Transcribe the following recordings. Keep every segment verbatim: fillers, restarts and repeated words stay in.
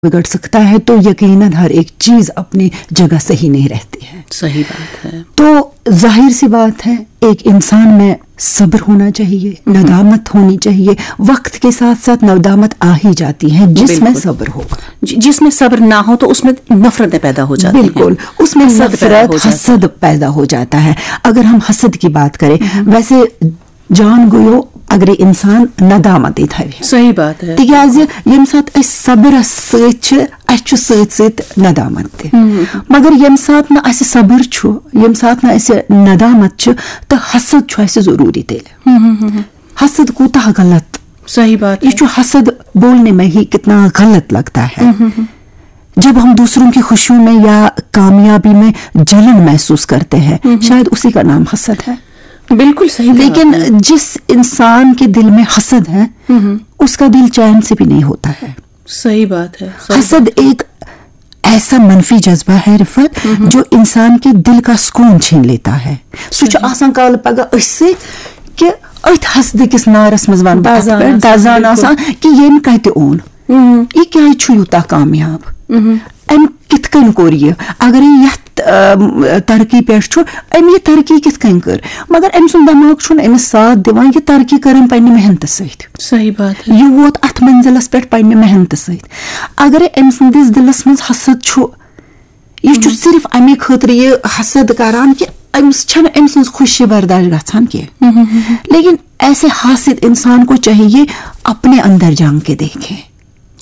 बिगड़ सकता है, तो यकीनन हर एक चीज अपनी जगह सही नहीं रहती है। सही बात है। तो जाहिर सी बात है, एक इंसान में सब्र होना चाहिए, नदामत होनी चाहिए। वक्त के साथ साथ नदामत आ ही जाती है, जिसमें बिल्कुल। सब्र होगा। जि- जिसमें सब्र ना हो तो उसमें नफरतें पैदा हो जाती हैं। बिल्कुल, उसमें हसद पैदा नफरत, हो जाता है। हसद पैदा हो जाता है। अगर हम हसद की बात करें, वैसे جان گوٚو اگرے انسان ندامت تھاوِ۔ صحیح بات ہے۔ تِکیٛازِ ییٚمہِ ساتہٕ أسۍ صبرس سۭتۍ چھِ، اَسہِ چھُ سۭتۍ سۭتۍ ندامت تہِ۔ مگر ییٚمہِ ساتہٕ نہٕ اَسہِ صبر چھُ، ییٚمہِ ساتہٕ نہٕ اَسہِ ندامت چھِ، تہٕ حسد چھُ اَسہِ ضروٗری تیٚلہِ۔ حسد کوٗتاہ غلط۔ صحیح بات ہے۔ یہ جو حسد بولنے میں ہی کتنا غلط لگتا ہے۔ جب ہم دوسروں کی خوشیوں میں یا کامیابی میں جلن محسوس کرتے ہیں، شاید اسی کا نام حسد ہے۔ بالکل صحیح کہا لیکن آپ نے۔ جس انسان کے دل میں حسد ہے، اس کا دل چین سے بھی نہیں ہوتا ہے۔ صحیح بات ہے، صحیح۔ حسد ایک ایسا منفی جذبہ ہے، رفعت، جو انسان کے دل کا سکون چھین لیتا ہے۔ سُہ چھُ آسان کالہٕ پگاہ أتھۍ سۭتۍ کہِ أتھۍ حسدٕ کِس نارس منٛز ونہٕ بہٕ اَتھ دزان پٮ۪ٹھ، آسان، دزان بِلکُل۔ آسان کہِ ییٚمۍ کتہِ اوٚن، یہِ کیازِ چھُ یوٗتاہ کامیاب، أمۍ کِتھ کٔنۍ کوٚر یہِ؟ اگر یہِ یتھ، ام، ترقی پٮ۪ٹھ چھُ، أمۍ یہِ ترقی کِتھ کٔنۍ کٔر؟ مگر أمۍ سُنٛد دٮ۪ماغ چھُنہٕ أمِس ساتھ دِوان، یہِ ترقی کٔر أمۍ پننہِ محنتہٕ سۭتۍ۔ صحیح بات ہے۔ یہِ ووت اتھ منزلس پٮ۪ٹھ پننہِ محنتہٕ سۭتۍ۔ اگرے أمۍ سٕنٛدِس دِلس منٛز حسد چھُ، یہِ چھُ صرف امے خٲطرٕ یہِ حسد کران کہِ أمِس چھنہٕ أمۍ سٕنٛز خوشی برداشت گژھان کینٛہہ۔ لیکن ایسے حاسد انسان کو چاہیے اپنے اندر جھانک کے دیکھے،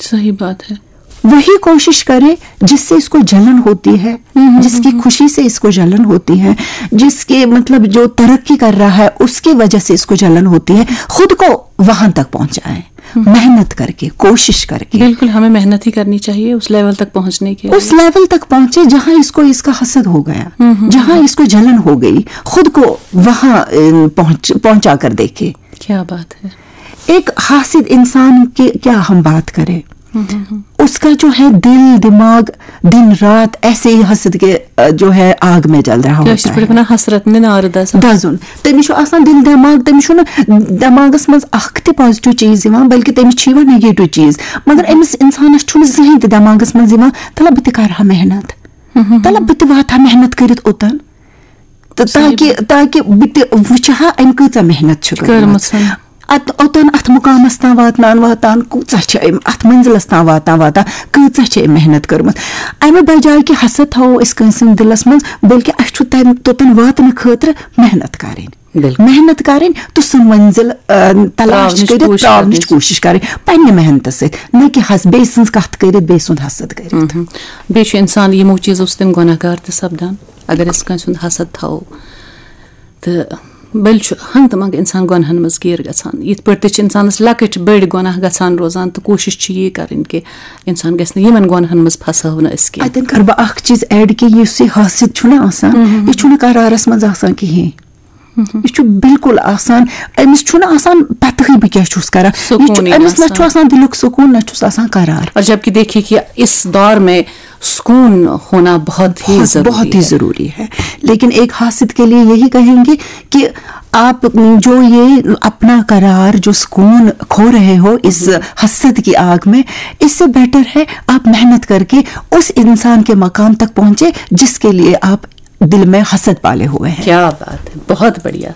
صحیح بات ہے۔ وہی کوشش کرے جس سے اس کو جلن ہوتی ہے، جس کی خوشی سے اس کو جلن ہوتی ہے، جس کے، مطلب، جو ترقی کر رہا ہے اس کی وجہ سے اس کو جلن ہوتی ہے، خود کو وہاں تک پہنچائے، محنت کر کے، کوشش کر کے۔ بالکل، ہمیں محنت ہی کرنی چاہیے اس لیول تک پہنچنے کے لیے۔ اس لیول تک پہنچے جہاں اس کو اس کا حسد ہو گیا، جہاں اس کو جلن ہو گئی، خود کو وہاں، ام، پہنچ پہنچا کر دیکھے۔ کیا بات ہے۔ ایک حاسد انسان کی کیا ہم بات کریں، اس کا جو ہے دل دماغ دن رات ایسے ہی حسد کے، آ، جو ہے آگ میں جل رہا ہوتا کٲشِر پٲٹھۍ ہے۔ وَنان حسرت نِن آرٕ دَزان۔ دَزُن۔ تٔمِس چھُ آسان دِل دٮ۪ماغ، تٔمِس چھُنہٕ دٮ۪ماغس منٛز اکھ تہِ پازیٹیو چیٖز یِوان، بلکہِ تٔمِس چھِ یِوان نیگیٹو چیٖز۔ مگر أمِس اِنسانَس چھُنہٕ زٕہٕنۍ تہِ دٮ۪ماغس منٛز یِوان، تَلہ بہٕ تہِ کَرٕ ہا محنت، تَلہ بہٕ تہِ واتہٕ ہا محنت کٔرِتھ اوٚتَن، تہٕ تاکہِ تاکہِ بہٕ تہِ وٕچھِ ہا أمۍ کۭژاہ محنت چھِ کٔرمٕژ۔ کٔرمٕژ۔ اتھ اوٚتن اتھ مقامس تام واتنان واتان کۭژاہ چھِ أمۍ، اتھ منزلس تام واتان واتان کۭژاہ چھِ أمۍ محنت کٔرمٕژ۔ امہِ بجایہِ کہِ حسد تھاوو أسۍ کٲنٛسہِ ہٕنٛدِ دِلس منٛز، بلکہِ اسہِ چھُ تمہِ توٚتن واتنہٕ خٲطرٕ محنت کرٕنۍ۔ بِلکُل۔ محنت کرٕنۍ تہٕ سُہ منزل، آ، تلاش ترٛاونٕچ کٔرِتھ کوٗشِش ترٛاونٕچ کرٕنۍ۔ کوٗشِش کرٕنۍ پننہِ محنتہٕ سۭتۍ، نہ کہِ حس بیٚیہِ سٕنٛز کتھ کٔرِتھ، بیٚیہِ سُنٛد حسد کٔرِتھ۔ بیٚیہِ چھُ انسان یِمو چیٖزو سۭتۍ گۄناہ گار تہِ سپدان۔ اگر أسۍ کٲنٛسہِ ہُنٛد حسد تھاوو تہٕ بٔلۍ چھُ ہنٛگتہٕ منٛگہٕ انسان گۄناہن منٛز گیٖر گژھان۔ یِتھ پٲٹھۍ تہِ چھِ انسانس لۄکٕٹۍ بٔڑۍ گۄناہ گژھان روزان تہٕ کوٗشِش چھِ یی کرٕنۍ کہِ انسان گژھِ نہٕ یِمن گۄناہن منٛز پھساو نہٕ أسۍ کینٛہہ۔ اتٮ۪ن کرٕ بہٕ اکھ چیٖز ایڈ کہِ یُس یہِ حاسد چھُنہ آسان، یہِ چھُنہٕ قرارس منٛز آسان کہیٖنۍ۔ یہِ چھُ بالکل آسان، أمِس چھُنہٕ آسان پتہٕے بہٕ کیٛاہ چھُس کران۔ یہِ چھُ، سکوٗنٕے نہٕ أمِس نہ آسان۔ چھُ آسان دِلُک سکوٗن، نہ چھُس آسان قرار۔ اور جبکہ دیکھیے کہ اس دور میں سکون ہونا بہت ہی بہت ضروری بہت ہی ہے۔ ضروری ہے۔ لیکن ایک حاسد کے لیے یہی کہیں گے کہ آپ جو یہ اپنا قرار، جو سکون کھو رہے ہو اس حسد کی آگ میں، اس سے بہتر ہے آپ محنت کر کے اس انسان کے مقام تک پہنچے جس کے لیے آپ دل میں حسد پالے ہوئے ہیں۔ کیا بات ہے، بہت بڑھیا۔